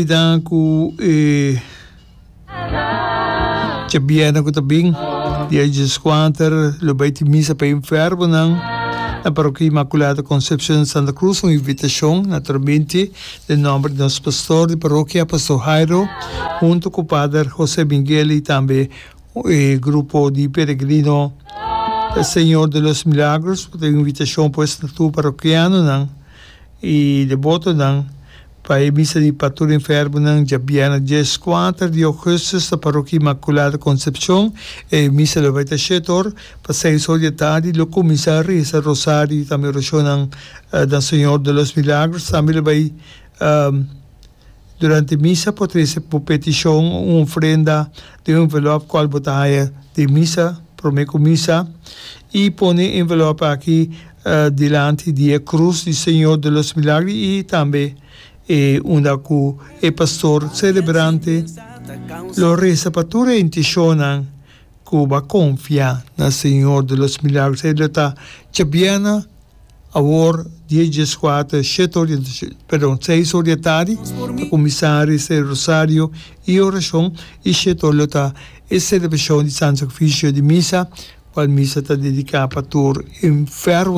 Bida ku e djabièrnè ku ta bin, dia dieskuater, lo bai tin misa pa e enfermonan na Parokia Inmaculada Concepcion di Santa Cruz. Un invitashon naturalmente den nòmber di nos pastor di parokia, Pastor Jairo, hunto ku Pader Jose Miguel i tambe e grupo di peregrino Señor de los Milagros. Ta un invitashon pues na tur parokianonan i debotonan pa e misa di pa tur enfermonan djabièrnè dieskuater di ougùstùs na Parokia Inmakulada Konsepshon. E misa lo bai ta shete or pa seis or di e tardi. Lo kuminsá resa rosario i tambe orashonnan na Señor de los Milagros. Tambe lo bai Durante misa por trese bo petishon o un ofrenda den un envelòp kual bo ta haña den misa promé ku misa i pone e envelòp aki dilanti di e krus di Señor de los Milagros i tambe e unda ku e pastor selebrante lo resa pa tur e intishonnan ku bo a konfia na Señor de los Milagros. E lo ta djabièrnè. Awor die dieskuater, shete or di, perdon, seis or di e tardi ta kuminsá resa e rosario i orashon i shete or lo ta e selebrashon di Santo Sakrifisio di misa, kual misa ta dediká pa tur enfermonan.